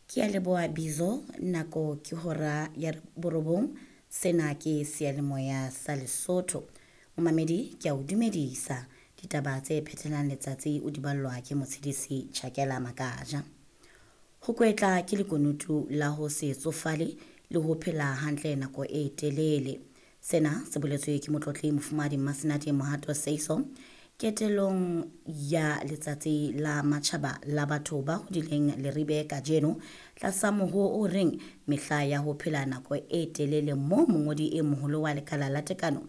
Ke a leboha Bizo, nako ke hora ya borobong. Sena ke seyalemoya sa Lesotho. Momamedi ke a o dumedisa. Ditaba tse phethelang letsatsi o di ballwa ke Motshedisi Chakela Makaja. Ho kwetla ke lekunutu la ho se tsofale le ho phela hantle nako e telele. Sena se boletswe ke motlotli Mofumahadi Mmasenate Mohato Seiso ketelong ya letsatsi la matjhaba la batho ba hodileng Leribe kajeno tlasa mohoo o reng mehla ya ho phela nako e telele moo mongodi e moholo wa lekala la tekano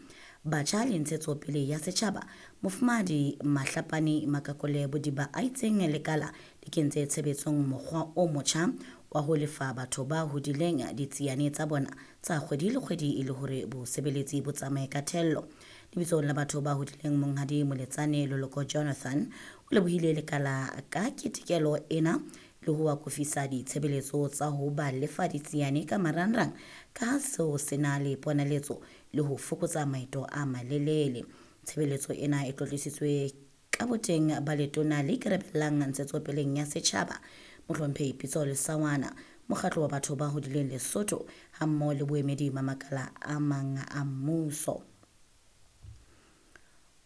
batjha le ntshetsopele ya setjhaba Mofumahadi Mahlapane Makakole Bodiba a itseng lekala le kentse tshebetsong mokgwa o motjha wa ho lefa batho ba hodileng ditsiane tsa bona tsa kgwedi le kgwedi e le hore bosebeletsi bo tsamaye ka thello. Lebitsong la batho ba hodileng Monghadi Moletsane Loloko Jonathan o lebohile lekala ka ketekelo ena le ho akofisa ditshebeletso tsa ho ba lefa ditsiane ka marangrang ka ha seo se na le ponaletso le ho fokotsa maeto a malelele. Tshebeletso ena e tlotlisitswe ka boteng ba letona le ikarabellang ntshetsopeleng ya setjhaba Mohlomphehi Pitso Lesawana, mokgatlo wa batho ba hodileng Lesotho hammoho le boemedi ba makala a mang a mmuso.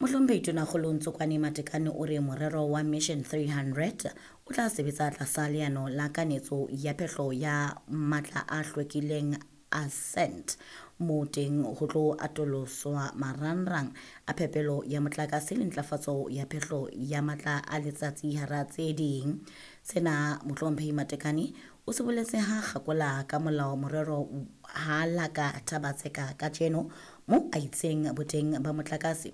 Mohlomphehi Tonakgolo Ntsokwane Matekane o re morero wa Mission 300 o tla sebetsa tlasa leano la kanetso ya phehlo ya matla a hlwekileng Ascent moo teng ho tlo atoloswa marangrang a phepelo ya motlakase le ntlafatso ya phehlo ya matla a letsatsi hara tse ding. Sena Mohlomphehi Matekane o se boletse ha kgakola ka molao morero ha laka Thabatseka kajeno moo a itseng boteng ba motlakase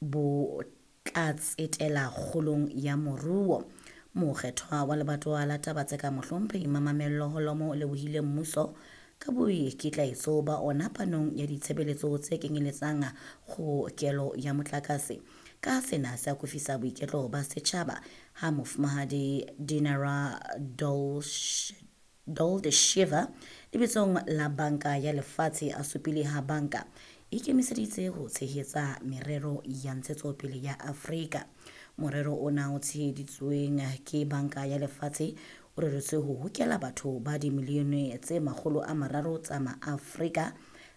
bo tla tsetela kgolong ya moruo. Mokgethwa wa lebatowa la Taba-Tseka Mohlomphehi Mamamello Holomo o lebohile mmuso ka boikitlaetso ba ona panong ya ditshebeletso tse kenyeletsang kgokelo ya motlakase. Ka sena se akofisa boiketlo ba setjhaba ha Mofumahadi Dinara Doldeshiva lebitsong la Banka ya Lefatshe a supile ha banka e ikemiseditse ho tshehetsa merero ya ntshetsopele ya Afrika. Morero ona o tsheheditsweng ke Banka ya Lefatshe o reretswe ho hokela batho ba dimilione tse 300 tsa Maafrika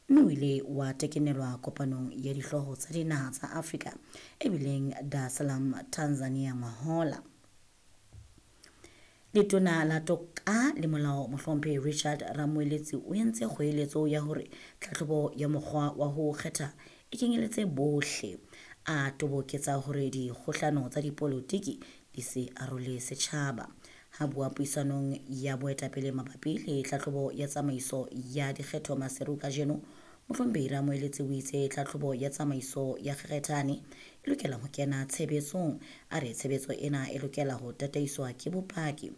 mme o ile wa tekenelwa kopanong ya dihlooho tsa dinaha tsa Afrika e bileng Dar es Salaam, Tanzania ngwahola. Letona la Toka le Molao Mohlomphehi Richard Ramoeletsi o entse kgoeletso ya hore tlhahlobo ya mokgwa wa ho kgetha e kenyeletse bohle. A toboketsa hore dikgohlano tsa dipolotiki di se arole setjhaba. Ha bua puisanong ya boetapele mabapi le tlhahlobo ya tsamaiso ya dikgetho Maseru kajeno, Mohlomphehi Ramoeletsi o itse tlhahlobo ya tsamaiso ya kgethane e lokela ho kena tshebetsong. A re tshebetso ena e lokela ho tataiswa ke bopaki,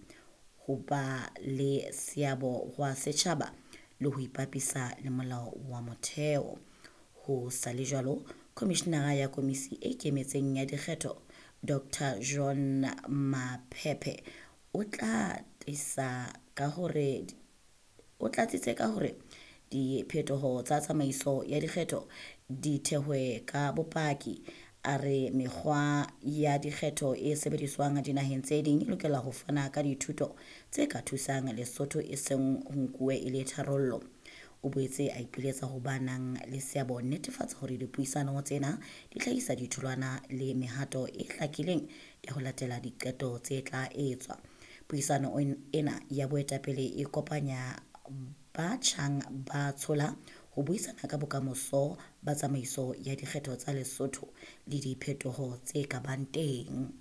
ho ba le seabo hwa setjhaba le ho ipapisa le molao wa motheo. Ho sa le jwalo, Komishenara ya Komisi e Ikemetseng ya Dikgetho, Dr. John Maphephe o tla tlisa ka hore o tlatsitse ka hore diphetoho tsa tsamaiso ya dikgetho di thehwe ka bopaki. A re mekgwa ya dikgetho e sebediswang dinaheng tse ding e lokela ho fana ka dithuto tse ka thusang Lesotho e seng ho nkuwe e le tharollo. O boetse a ipiletsa ho ba nang le seabo netefatsa hore dipuisano tsena di hlahisa ditholwana le mehato e hlakileng ya ho latela diqeto tse tla etswa. Puisano ena ya boetapele e kopanya ba tjhang ba tshola ho buisana ka bokamoso ba tsamaiso ya dikgetho tsa Lesotho le diphetoho tse ka bang teng.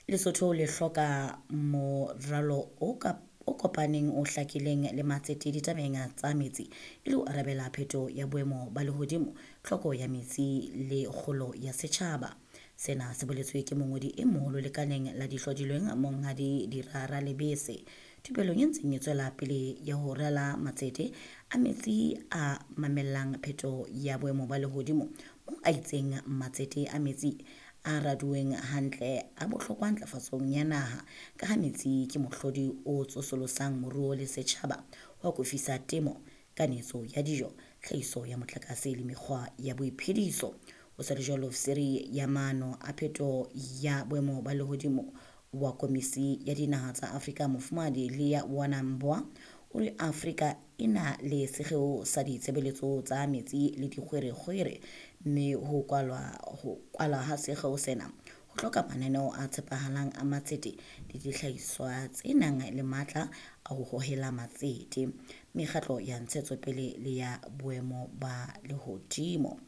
Lesotho le hloka moralo o kopaneng o hlakileng le matsete ditabeng tsa metsi e le ho arabela pheto ya boemo ba lehodimo, tlhoko ya metsi le kgolo ya setjhaba. Sena se boletswe ke mongodi e moholo lekaleng la dihlodilweng Monghadi Dirara Lebese. Thupelong e ntseng e tswela pele ya ho rala matsete a metsi a mamellang pheto ya boemo ba lehodimo moo a itseng matsete a metsi a raduweng hantle a bohlokwa ntlafatsong ya naha ka ha metsi ke mohlodi o tsosolosang moruo le setjhaba ho akofisa temo, kanetso ya dijo, tlhahiso ya motlakase le mekgwa ya boiphediso. Ho sa le jwalo, ofisiri ya maano a pheto ya boemo ba lehodimo Wa Komisi ya Dinaha tsa Afrika Mofumahadi Leah Wanambwa o re Afrika e na le sekgeo sa ditshebeletso tsa metsi le dikgwerekgwere, mme ho kwalwa ha sekgeo sena ho hloka mananeo a tshepahalang a matsete le dihlahiswa tse nang le matla a ho hohela matsete, mekgatlo ya ntshetsopele le ya boemo ba lehodimo.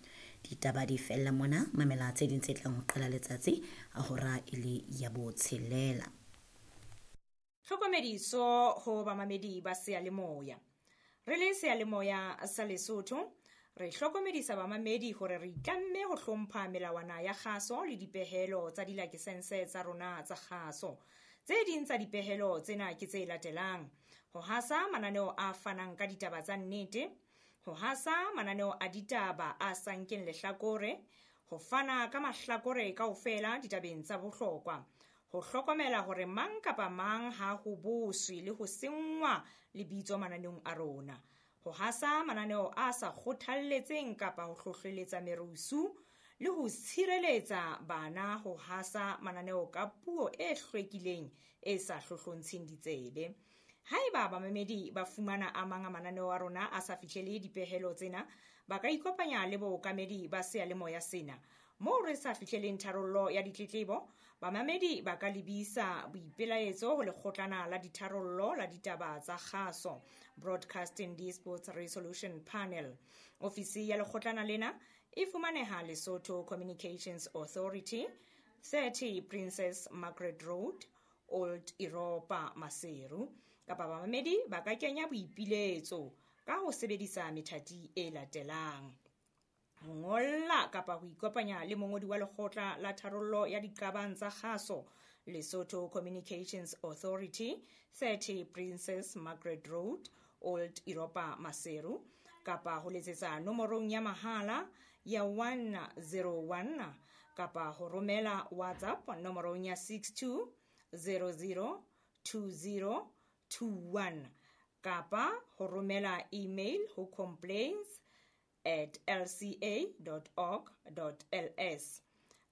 Ditaba di fella mona, mamela tse ding tse tlang ho qala letsatsi a hora e le ya botshelela. Tlhokomediso ho bamamedi ba seyalemoya. Re le seyalemoya sa Lesotho, re hlokomedisa bamamedi hore re itlamme ho hlompha melawana ya kgaso le dipehelo tsa dilakesense tsa rona tsa kgaso. Tse ding tsa dipehelo tsena ke tse latelang: ho hasa mananeo a fanang ka ditaba tsa nnete, ho hasa mananeo a ditaba a sa nkeng lehlakore, ho fana ka mahlakore kaofela ditabeng tsa bohlokwa, ho hlokomela hore mang kapa mang ha ho boswe le ho senngwa lebitso mananeong a rona, ho hasa mananeo a sa kgothalletseng kapa ho hlohleletsa merusu, le ho tshireletsa bana ho hasa mananeo ka puo e hlwekileng e sa hlohlontsheng ditsebe. Haeba bamamedi ba fumana a mang a mananeo a rona a sa fihlele dipehelo tsena, ba ka ikopanya le bookamedi ba seyalemoya sena. Moo re sa fihleleng tharollo ya ditletlebo, bamamedi ba ka lebisa boipelaetso ho lekgotlana la ditharollo la ditaba tsa kgaso, Broadcasting Disputes Resolution Panel. Ofisi ya lekgotlana lena e fumaneha Lesotho Communications Authority, 30 Princess Margaret Road, Old Europa, Maseru. Kapa bamamedi ba ka kenya boipiletso ka ho sebedisa methati e latelang: ho ngolla kapa ho ikopanya le mongodi wa lekgotla la tharollo ya diqabang tsa kgaso, Lesotho Communications Authority, 30 Princess Margaret Road, Old Europa, Maseru, kapa ho letsetsa nomorong ya mahala ya 101, kapa ho romela WhatsApp nomorong ya 62 00 20 21, kapa ho romela email ho complaints@lca.org.ls,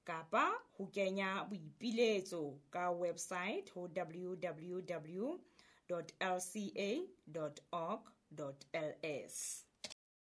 kapa ho kenya boipiletso ka website ho www.lca.org.ls.